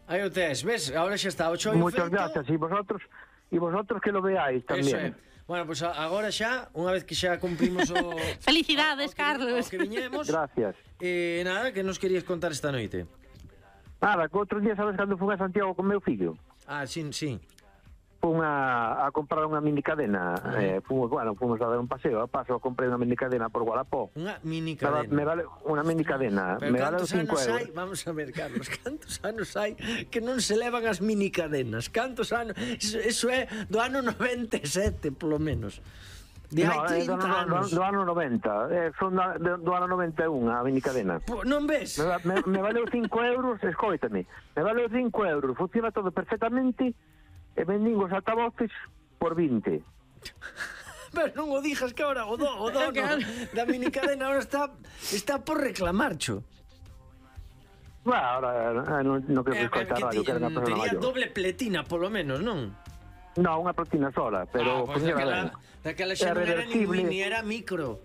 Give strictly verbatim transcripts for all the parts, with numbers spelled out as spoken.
Aí o tes, ves? Ahora xa está o choio Muchas feito. gracias, e vosotros e vosotros que lo veáis Eso é. tamén. Bueno, pues agora xa, unha vez que xa cumprimos o... Felicidades, o, o que, Carlos. O que viñemos. Gracias. Eh, nada, que nos querías contar esta noite? Nada, que outro día sabes cando fui a Santiago con meu fillo? Ah, sí, sí. Fun a, a comprar unha mini cadena. Uh-huh. eh, fomos, bueno, fomos a dar un paseo. A paso comprei unha mini cadena por Gualapó. Unha mini Me, cadena. me vale unha mini cadena. Pero me vale cantos cinco anos euros. hai? Vamos a ver, Carlos, cantos anos hai que non se levan as mini cadenas? Cantos anos? Eso, eso é do ano noventa e sete, polo menos. De hai No, é do, trinta ano- anos. do, do ano noventa. Eh, son da, do, do ano noventa e un a mini cadena. Po, non ves? Me, va- me, me valeu cinco euros, escoítame. Me valeu cinco euros. Funciona todo perfectamente. E vendín os altavoces por vinte. Pero non o dijas que ahora o, do, o dono da mini cadena ahora está está por reclamar, cho. Bueno, ahora eh, non, non creo que Eh, escoita que radio, que era unha ti- persona tería maior. doble pletina, polo menos, non? No, unha platina sola, pero ah, pues funciona daquela, ben. daquela É xa non era ni reversible. mini, era micro.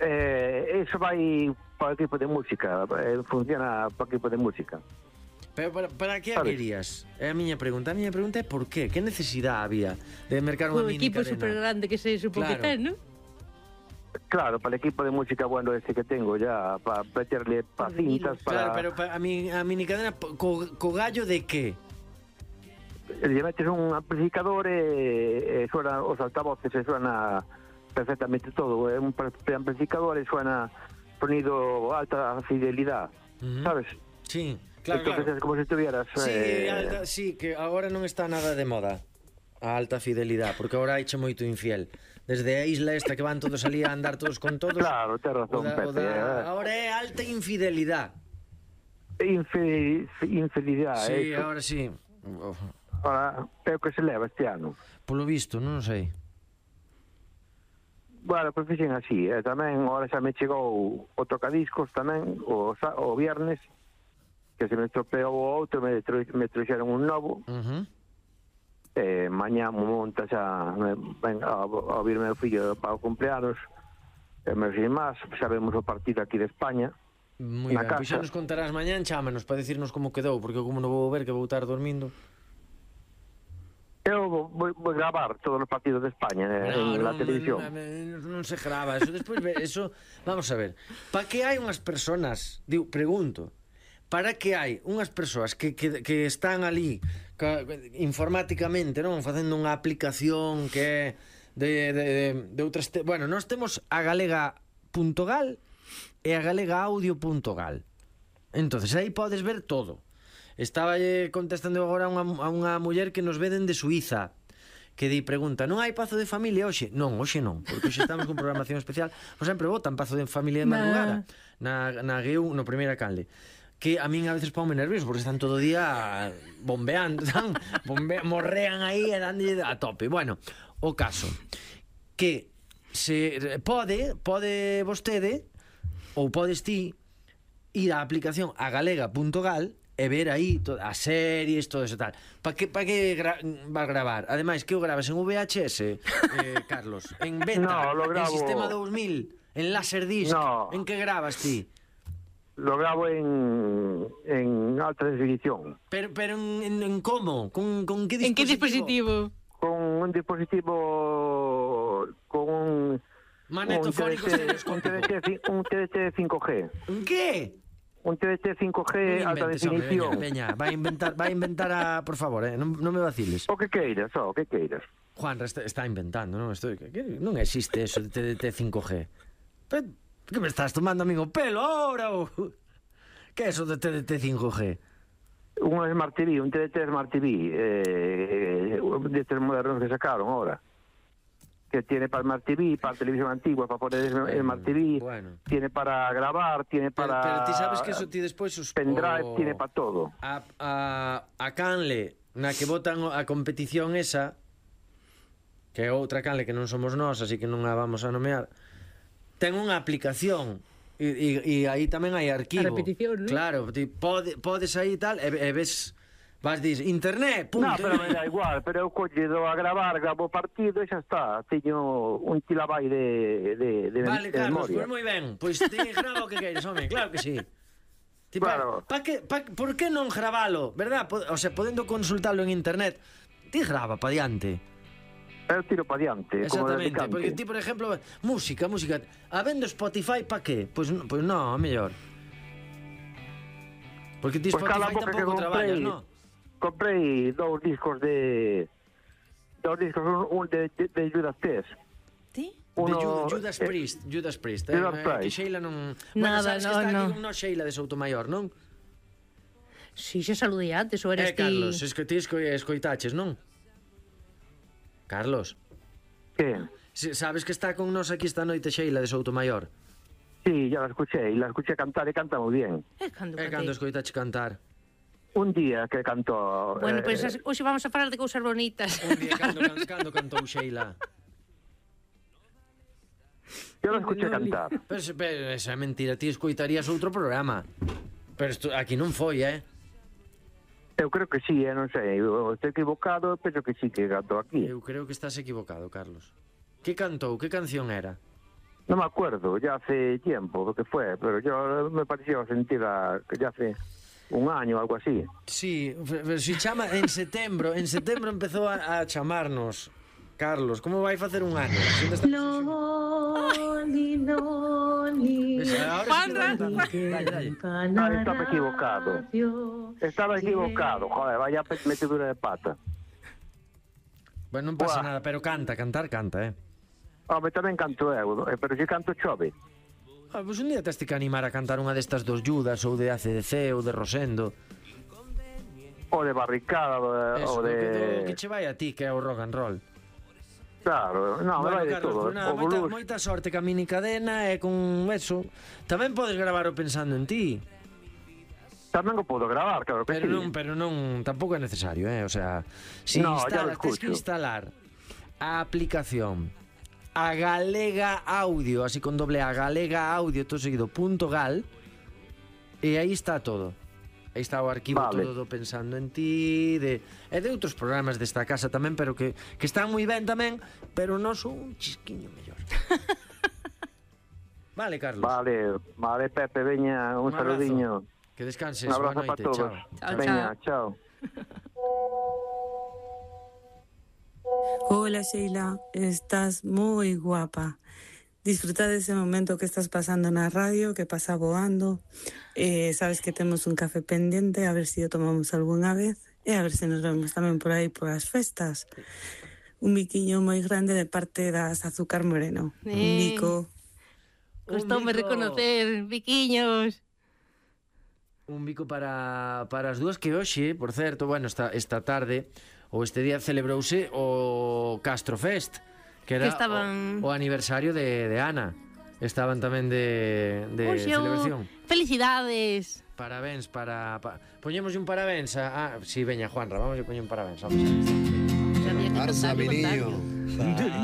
Eh, eso vai para o equipo de música, eh, funciona para o equipo de música. Pero para, para que a Sabes? querías? É a miña pregunta. A miña pregunta é por qué? Que necesidade había de mercar unha Un mini equipo cadena? super grande que se supo que Claro. ten, ¿no? Claro, para el equipo de música bueno ese que tengo ya, para meterle para cintas, Claro, para... pero pa, a, mi, a mini cadena po- co, co gallo de que? Le metes un amplificador e, e suena os altavoces e suena perfectamente todo. É un pre- amplificador e suena sonido alta fidelidad, Ujú. ¿sabes? Sí, claro, Entonces claro. es como si estuvieras... Sí, eh, alta, sí, que agora non está nada de moda a alta fidelidad, porque agora haiche moito infiel. Desde a isla esta que van todos ali a andar todos con todos. Claro, ten razón, o da, o Pepe. da, eh. agora é alta infidelidad. Infe- infidelidad, Sí, eso. agora sí. Ahora, é o que se leva este ano. Polo visto, non sei. Bueno, pues fixen así, e tamén ahora xa me chegou o tocadiscos tamén o, sa- o viernes, que se me estropeou o outro, me, tro, me trouxeron un novo, Uh-huh. e mañá mo monta xa me, ven a, a vir meu fillo para o cumpleanos, e meus irmás, sabemos o partido aquí de España. Moi Na ben, pois xa casa. nos contarás mañán, chámanos para decirnos como quedou, porque como non vou ver que vou estar dormindo. Eu vou, vou, vou gravar todos os partidos de España eh, en la televisión. Non, non se grava, eso despois ve- eso, vamos a ver. Para que hai unhas persoas, digo, pregunto, para que hai unhas persoas que, que, que están ali ca, informáticamente, non, facendo unha aplicación que é de, de, de, de outras, te, bueno, nós temos a galega.gal e a galegaaudio.gal. Entonces aí podes ver todo. Estaba eh, contestando agora a unha, a unha muller que nos ve dende Suiza, que di pregunta, non hai pazo de familia hoxe? Non, hoxe non, porque hoxe estamos con programación especial. Pois sempre botan pazo de familia de madrugada na, na G U, no primeira canle, que a min a veces ponme nervioso porque están todo o día bombeando, están, bombe, morrean aí e danlle a tope. Bueno, o caso que se pode, pode vostede ou podes ti ir á aplicación a galega.gal e ver aí to, as series, todo eso tal. Para que, pa que gra, vas gravar? Ademais, que o grabas en V H S, eh, Carlos? En beta? No, lo grabo- En sistema dous mil? En Laserdisc? No. En que grabas ti? Lo grabo en, en alta definición, Pero, pero en, en, en como? Con, con que ¿En qué dispositivo? dispositivo? con un dispositivo con un Magnetofónico un T D T, un estereoscópico. T D T, un T D T cinco G, En que? un T D T cinco G Non alta inventes, hombre, definición. veña, veña, vai inventar, vai inventar a, por favor, eh, non, non me vaciles. O que queiras, o que queiras. Juan está, está inventando, non? Esto, que, que, non existe eso de T D T cinco G. Pero, que me estás tomando, amigo, pelo ahora? Ou... Que é eso de T D T cinco G? Un Smart T V, un T D T Smart T V, eh, de estos modernos que sacaron ahora. Que tiene para Smart T V, para televisión antigua, para poner Smart T V, bueno. tiene para grabar, tiene Pero, para... pero ti sabes que eso ti despois os... pendrive, o- tiene para todo. A, a, a canle na que botan a competición esa, que é outra canle que non somos nós, así que non a vamos a nomear, ten unha aplicación e, e, e aí tamén hai arquivo. A repetición, ¿no? Claro, ti pode, podes aí e tal, e, e ves, vas dis, internet, punto. No, pero me da igual, pero eu collido a gravar, gravo o partido e xa está. Teño un tilabai de, de, de, Vale, de Carlos, memoria. pois moi ben. Pois ti grava o que queires, home, claro que sí. Ti, pa, Claro. pa que, pa, por que non gravalo, verdad? O sea, podendo consultalo en internet, ti grava pa diante. Eu tiro pa diante, como de Exactamente, porque cante. ti, por exemplo, música, música, habendo Spotify, pa que? Pois pues, pues non, a mellor. Porque ti Pois cala a Spotify boca que tampouco traballas, comprei, non? comprei dous discos de... Dous discos, un, un de, de, de Judas Priest. Ti? De Uno, Ju- Judas eh, Priest, Judas Priest, eh, Judas eh, Priest. que Sheila non... Nada, bueno, sabes no, que está no. aquí con no Sheila de Soutomaior, non? Si, xa saludei antes, ou eres Eh, Carlos, ti... es que ti esco, escoitaches, non? Carlos, Que? si- sabes que está con nós aquí esta noite Sheila de Soutomaior? Sí, ya la escuché, y la escuché cantar y canta muy bien. É cando É cantei. cando escoitache cantar. Un día que cantó... Bueno, eh, pois pues, hoxe vamos a falar de cousas bonitas. Un día cando, cando, cando cantou Sheila. yo la escuché cantar. Pero, se- pero esa é mentira, ti escoitarías outro programa. Pero esto, aquí non foi, eh? Eu creo que sí, eh, non sei, eu estou equivocado, penso que sí que cantou aquí. Eu creo que estás equivocado, Carlos. Que cantou? Que canción era? No me acuerdo, ya hace tiempo lo que fue, pero yo me pareció sentir a, que ya hace un año o algo así. Sí, pero si chama en setembro, en setembro empezou a, a chamarnos. Carlos, como vai facer un ano? Si onde está- Loli, Loli. Ves, ahora sí que Juanra. cantando. Dale, dale. Ah, estaba equivocado. Estaba equivocado, joder, vaya pe- metedura de pata. Bueno, non pasa Buah. nada, pero canta, cantar canta, eh. Home, tamén canto eu, eh, pero si canto chove. Ah, pois un día teste que animar a cantar unha destas dos Judas ou de A C D C ou de Rosendo. O de barricada, o de... Eso, o que, de... que che vai a ti, que é o rock and roll. Claro, no, me Bueno, vai de Carlos, todo. pues nada, O moita, blues, moita sorte ca mini cadena e con eso. Tamén podes gravar o pensando en ti. tamén o podo gravar, claro que Pero sí. non, pero non, tampouco é necesario, eh? O sea, si No, ya instalas, lo tens que escucho. instalar a aplicación a Galega Audio, así con doble A, Galega Audio, todo seguido, punto gal, e aí está todo. Aí está o arquivo Vale. todo do Pensando en ti, de, e de outros programas desta casa tamén, pero que, que están moi ben tamén, pero non son un chisquiño mellor. Vale, Carlos. Vale, vale, Pepe, veña, un, Un abrazo. saludiño. Que descanses, Un boa abrazo noite, para todos. chao. Chao, Veña, chao. Hola Sheila, estás muy guapa. Disfruta de ese momento que estás pasando en la radio, que pasa voando. Eh, sabes que tenemos un café pendiente, a ver si lo tomamos alguna vez. E a ver se nos vemos tamén por aí por as festas. Un biquiño moi grande de parte das Azúcar Moreno. Un Eh. bico. Costoume bico. reconocer, biquiños. Un bico para, para as dúas que hoxe, por certo, bueno, esta, esta tarde ou este día celebrouse o Castro Fest, que era Que estaban- o, o aniversario de, de Ana. Estaban tamén de, de Oxe, o- celebración. Felicidades. Parabéns para... Pa, poñemos un parabéns a... Ah, si, sí, veña, Juanra, vamos a poñer un parabéns. Vamos. Sabía que Arsa, contario, mi niño. contario.